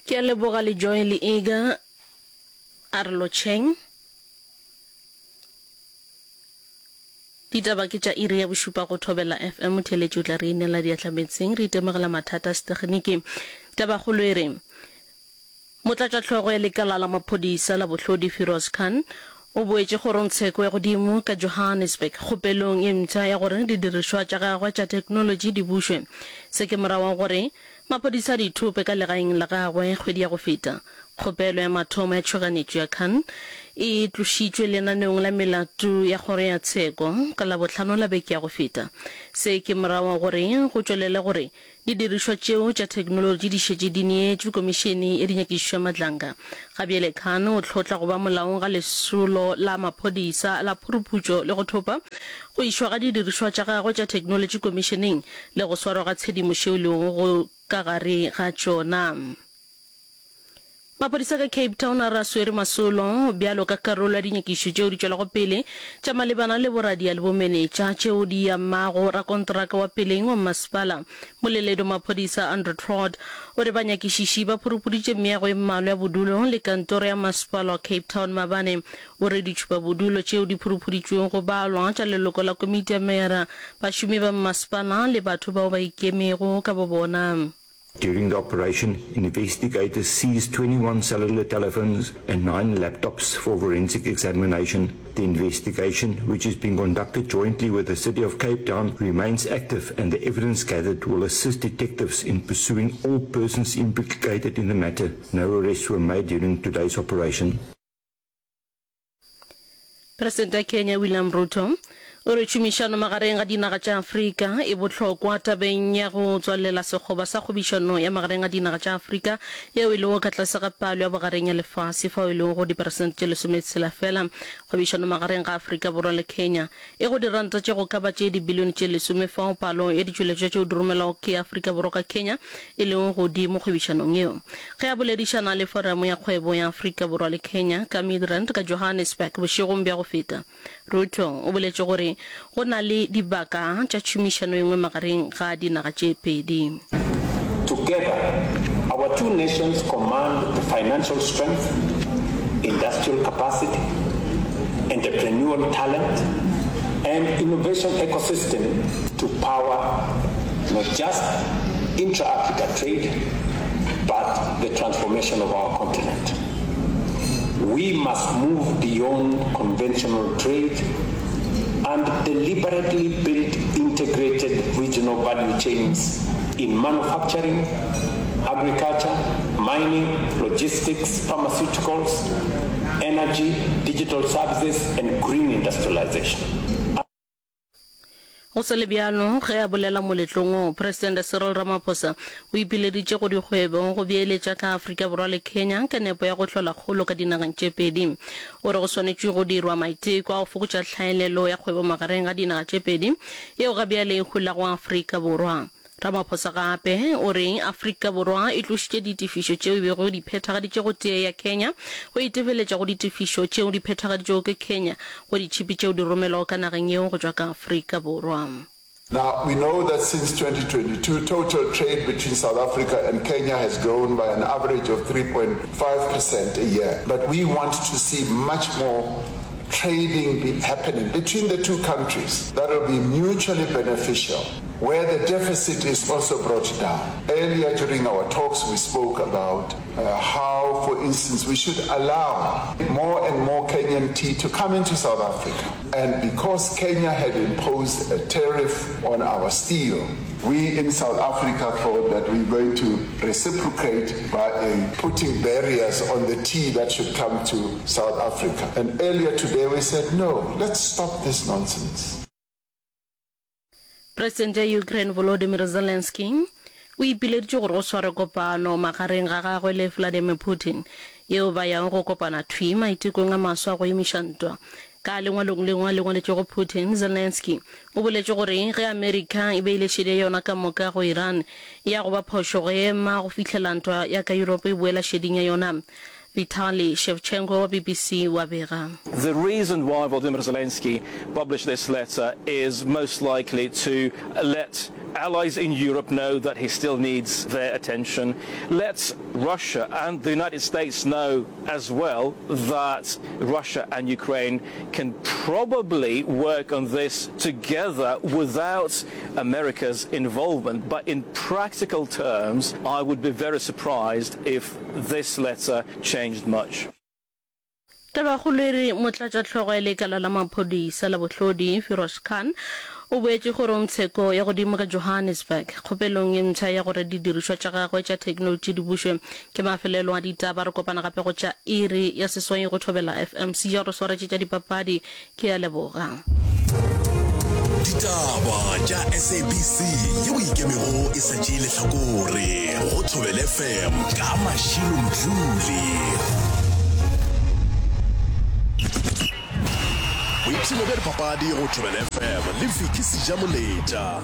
Ke a leboga le Joy le Iga. A re lotšheng. Ditaba ke tša iri ya bošupa go Thobela FM. Motheeletši o tla re inela diatla meetseng. Re itemogela mathata a setegeniki. Tabakgolo e re, Motlatšahlogo ya lekala la maphodisa la bohlodi Firoz Khan o boetše kgorongtsheko ya godimo ka Johannesburg kgopelong ye mpsha ya gore didirišwa tša gagwe tša theknolotši di bušwe. Se ke morago ga gore maphodisa a di thope ka legaeng la gagwe kgwedi ya go feta. Kgopelo ya mathomo ya tšhoganetšo ya Khan e tlošitšwe lenaneong la melato ya kgoro ya tsheko ka Labohlano la beke ya go feta. Se ke morago ga gore go tšwelele gore Didirišwa tšeo tša theknolotši di šetše di neetšwe Komišene ya Dinyakišišo ya Madlanga. Ga bjale Khan o hlotla go ba molaong ga lesolo la maphodisa la phuruphutšo le go thopa, go išwa ga didirišwa tša gagwe tša theknolotši komišeneng le go swarwa ga tshedimošo yeo e lego go ka gare ga tšona. Maphodisa ka Cape Town a re a swere masolo bjalo ka karolo ya dinyakišišo tšeo di tšwelago pele tša malebana le boradia le bomenetša tšeo di amago rakonteraka wa peleng wa mmasepala. Moleledi wa maphodisa Andrew Trott o re banyakišiši ba phuruphuditše meago e mmalwa ya bodulo le kantoro ya masepala wa Cape Town maabane. O re ditšhupabodulo tšeo di phuruphuditšwego go balwa tša leloko la komiti ya meyara, bašomi ba mmasepala le batho bao ba ikemego ka bobona. During the operation, investigators seized 21 cellular telephones and 9 laptops for forensic examination. The investigation, which is being conducted jointly with the City of Cape Town, remains active and the evidence gathered will assist detectives in pursuing all persons implicated in the matter. No arrests were made during today's operation. Presidente wa Kenya William Ruto o re tšhomišano magareng ga dinaga tša Afrika e bohlokwa tabeng ya go tswalela sekgoba sa kgwebišano ya magareng ga dinaga tša Afrika yeo e lego ka tlase ga palo ya bogareng ya lefase fao e lego go diperesente tše lesometshela fela. Kgwebišano magareng ga Afrika Borwa le Kenya e go diranta tše go ka ba tše dibilione tše lesome fao palo ya ditšweletšwa tšeo di romelwago ke Afrika Borwa ka Kenya e lego godimo kgwebišanong yeo. Ge a boledišana le Foramo ya Kgwebo ya Afrika Borwa le Kenya ka Midrand ka Johannesburg bošegong bja go feta, Ruto o boletše gore go na le dibaka tša tšhomišano e nngwe magareng ga dinaga tše pedi. Together, our two nations command the financial strength, industrial capacity, entrepreneurial talent, and innovation ecosystem to power not just intra-Africa trade, but the transformation of our continent. We must move beyond conventional trade and deliberately build integrated regional value chains in manufacturing, agriculture, mining, logistics, pharmaceuticals, energy, digital services, and green industrialization. Go sa le bjalo, ge a bolela moletlong wo, Presidente Cyril Ramaphosa o ipileditše go dikgwebo go beeletša ka Afrika Borwa le Kenya ka nepo ya go hlola kgolo ka dinageng tše pedi. O re go swanetšwe go dirwa maiteko a go fokotša tlhaelelo ya kgwebo magareng ga dinaga tše pedi yeo ga bjale e holago Afrika Borwa. Ramaphosa gape o re Afrika Borwa e tlošitše ditefišo tšeo e bego e di phethagaditše go tee ya Kenya go itefeletša go ditefišo tšeo di phethagaditšwego ke Kenya go ditšhipi tšeo di romelwago ka nageng yeo go tšwa ka Afrika Borwa. Now, we know that since 2022, total trade between South Africa and Kenya has grown by an average of 3.5% a year. But we want to see much more trading be happening between the two countries that will be mutually beneficial, where the deficit is also brought down. Earlier during our talks, we spoke about uh, how, for instance, we should allow more and more Kenyan tea to come into South Africa. And because Kenya had imposed a tariff on our steel, we in South Africa thought that we were going to reciprocate by uh, putting barriers on the tea that should come to South Africa. And earlier today we said, no, let's stop this nonsense. Presidente ya Ukraine Volodymyr Zelensky o ipileditše gore go swarwe kopano magareng ga gagwe le Vladimir Putin yeo ba yago go kopana thwii maitekong a maswa a go emiša ntwa. Ka lengwalong lengwe a le ngwaletšego Putin, Zelensky o boletše gore ge Amerika e beile šedi ya yona ka moka go Iran, e ya go ba phošo go ema go fihlela ntwa ya ka Yuropa e boela šeding ya yona. Vitaly Shevchenko wa BBC o a bega. The reason why Volodymyr Zelensky published this letter is most likely to let allies in Europe know that he still needs their attention, let Russia and the United States know as well that Russia and Ukraine can probably work on this together without America's involvement. But in practical terms, I would be very surprised if this letter changed much. Tabakgolo e re motlatšahlogo ya lekala la maphodisa la bohlodi, Firoz Khan, o boetše kgorongtsheko ya godimo ka Johannesburg kgopelong ye mpsha ya gore didirišwa tša gagwe tša theknolotši di bušwe. Ke mafelelo a ditaba, re kopana gape go tša iri ya seswai go Thobela FM. Seja re swaretše tša dipapadi. Ke a leboga. Ditaba tša SABC yeo e ikemego e sa tšee lehlakore go Thobela FM ka Mashilo Mdluli. Boipshino bja dipapadi go Thobela FM le Vicky Sejamoletša.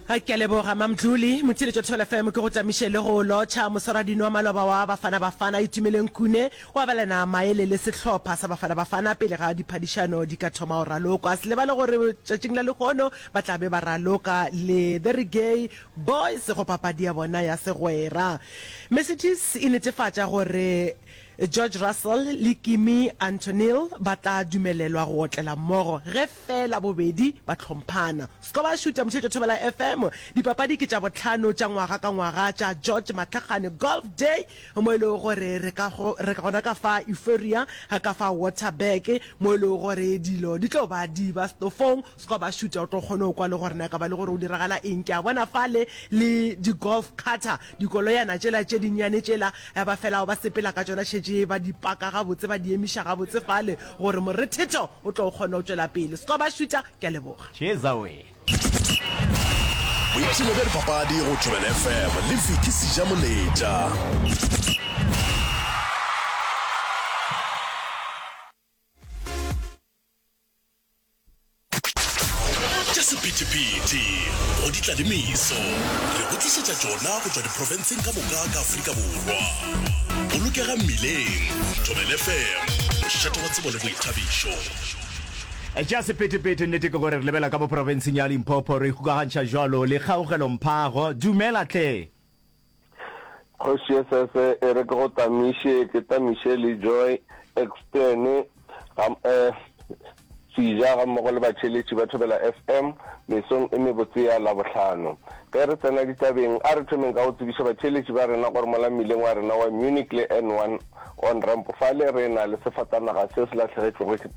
Ke a leboga Mamdluli. Motheeletši wa Thobela FM ke go tamiše le go lotšha moswaradino wa maloba wa Bafana Bafana Itumeleng Khune o abelana maele le sehlopha sa Bafana Bafana pele ga diphadišano di ka thoma go ralokwa. Se lebale gore tšatšing la lehono ba tla be ba raloka le The Reggae Boys go papadi ya bona ya segwera. Mercedes e netefatša gore George Russell le Kimi Antonil ba tla dumelelwa go otlela mmogo ge feela bobedi ba hlomphana. Skoba Šuta Mošetšo Thobela FM, Dipapadi ke tša bohlano tša ngwaga ka ngwaga tša George Matlakgane Golf Day mo e lego gore re ka re gona ka fa Euphoria ka fa Waterberg mo e lego gore dilo di tlo ba di ba stofong. Skoba Šuta o tlo kgona go kwa le gore na ka ba le gore go diragala eng. Ke a bona fale le di golf carter, dikoloyana tšela tše dinnyane tšela ba felago ba sepela ka tšona šetše ba di paka gabotse ba di emiša gabotse fale gore morethetho o tlo kgona go tšwela pele. Skoba Šuta, ke a leboga. Tšeza we. Boipshino bja dipapadi go Thobela FM le Vicky Sejamoletša. Tša sephethephethe go di tla le meso, re go tlišetša tšona go tšwa diprofenseng ka moka ka Afrika Borwa. Bolokega mmileng, Thobela FM, mošate wa tsebo le boithabišo. Tša sephethephethe, nnete ke gore re lebela ka mo profenseng ya Limpopo, re ikgokagantšha jwalo le Kgaugelo Mphago. Dumela hle. Kgoši Esese e re ke go tamiše, ke tamiše le Joy Ekstene ga eh, Seja gammogo le batheeletši ba Thobela FM mesong e mebotse ya Labohlano. Ge re tsena ditabeng, a re thomeng ka go tsebiša batheeletši ba rena gore mola mmileng wa rena wa Munich le N1 on ramp fale re na le sefatanaga se se lahlegetšwego ke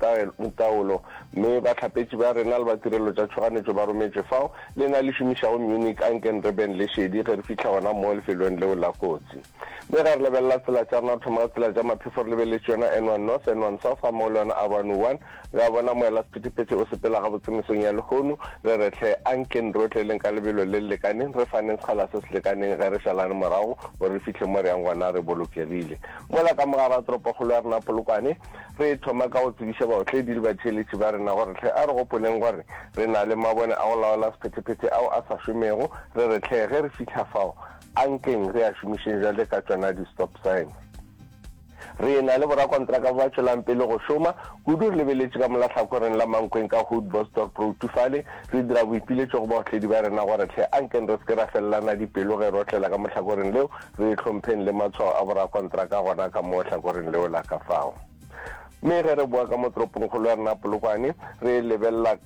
taolo mme bahlapetši ba rena le ba tirelo tša tšhoganetšo ba rometšwe fao Lena le šomišago Munich, anken re beng le šedi ge re fihla gona moo lefelong leo la kotsi. Mme ge re lebelela tsela tša rena, re thoma ka tsela tša maphefo re lebeletše yona N1 North, N1 South gammogo le yona R101. Re a bona moela sephethephethe o sepela gabotse mesong ya lehono. Re re hle, anken re otleleng ka lebelo le le lekaneng, re faneng sekgala se se lekaneng ge re šalane morago gore re fihle mo re yang gona re bolokegile. Mola ka mo gare ga toropokgolo ya rena Polokwane, Re thoma ka go tsebiša baotledi le batheeletši ba rena gore hle a re gopoleng gore re na le mabone a go laola sephethephethe ao a sa šomego, re re hle ge re fihla fao ankeng re a šomišeng bjale ka tšona di-stop sign. Re na le borakontraka ba ba tšwelang pele go šoma, kudu re lebeletše ka mola hlakoreng la Mankweng ka Hood Bosdorp Road fale, re dira boipiletšo go baotledi ba rena gore hle ankeng re se ke ra felelana dipelo ge re otlela ka mo hlakoreng leo, Re hlompheng le matshwao a borakontraka gona ka mo hlakoreng leo la ka fao. Mme ge re boa ka mo toropongkgolo ya rena Polokwane, re lebelela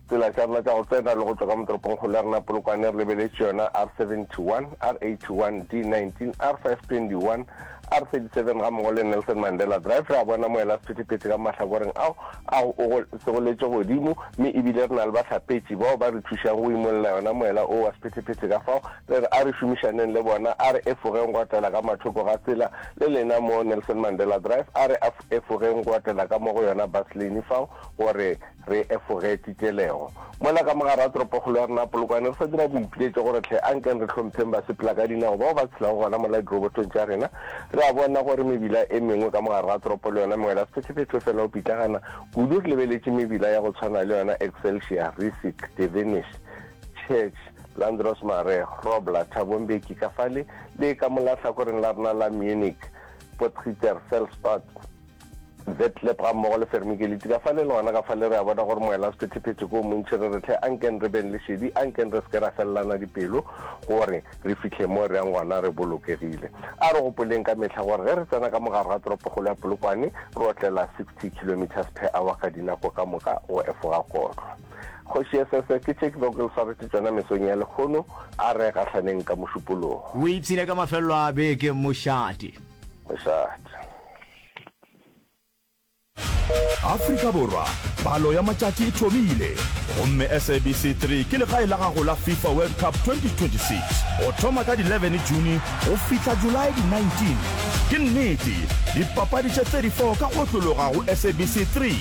tsela tša rena tša go tsena le go tšwa ka mo toropongkgolo ya rena Polokwane, re lebeletše yona R71, R81, D19, R521, R37 gammogo le Nelson Mandela Drive. Re a bona moela sephethephethe ka mahlakoreng ao a go segoletše godimo, mme ebile re na le bahlapetši bao ba re thušang go imolla yona moela o wa sephethephethe ka fao. Re re a re šomišaneng le bona, a re efogeng go otlela ka mathoko ga tsela le lena mo Nelson Mandela Drive, a re efogeng go otlela ka mo go yona bus lane fao gore re efoge titelego. Mola ka mogare ga toropokgolo ya rena Polokwane re sa dira boipiletšo gore hle ankeng re hlompheng basepela ka dinao bao ba tshelago gona mola dirobotong tša rena. Re a bona gore mebila e mengwe ka mogare ga toropo le yona mewela sephethephethe fela o pitlagana kudu re lebeletše mebila ya go tshwana le yona Excelsior, Rissik, Devenish, Church, Landros Mare, Grobler, Thabo Mbeki ka fale le ka mola hlakoreng la rena la Munich. Potgieter, Velstad, Vetlep gammogo le Fermikeliti. Ka fale le gona ka fale re a bona gore moela wa sephethephethe ke o montši. Re re hle ankeng re beng le šedi, ankeng re se ke ra felelana dipelo gore re fihle mo re yang gona re bolokegile. A re gopoleng ka mehla gore ge re tsena ka mo gare ga toropokgolo ya Polokwane re otlela 60 kilometres per hour ka dinako ka moka go efoga kotlo. Kgoši Esese, ke tše ke bego ke le swaretše tšona mesong ya lehono, a re gahlaneng ka Mošupologo. O ipshine ka mafelelo a beke, mošate. Mošate. Afrika Borwa, palo ya matšatši e thomile, gomme SABC 3 ke legae la gago la FIFA World Cup 2026 go thoma ka di 11 June go fihla Julae di 19. Ke nnete, dipapadi tše 34 ka go otlologa go SABC 3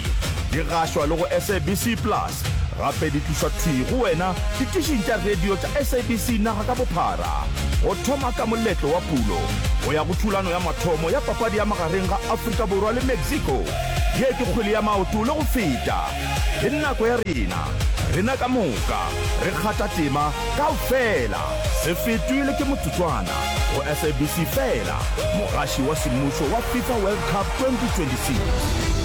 di gašwa le go SABC Plus, gape di tlišwa thwii go wena ditišing tša radio tša SABC naga ka bophara. Go thoma ka moletlo wa pulo go ya go thulano ya mathomo ya papadi ya magareng ga Afrika Borwa le Mexico, ye ke kgwele ya maoto le go feta. Ke nako ya rena, rena ka moka, re kgatha tema kaofela. Se fetwe le ke motsotswana, go SABC feela, mogaši wa semmušo wa FIFA World Cup 2026.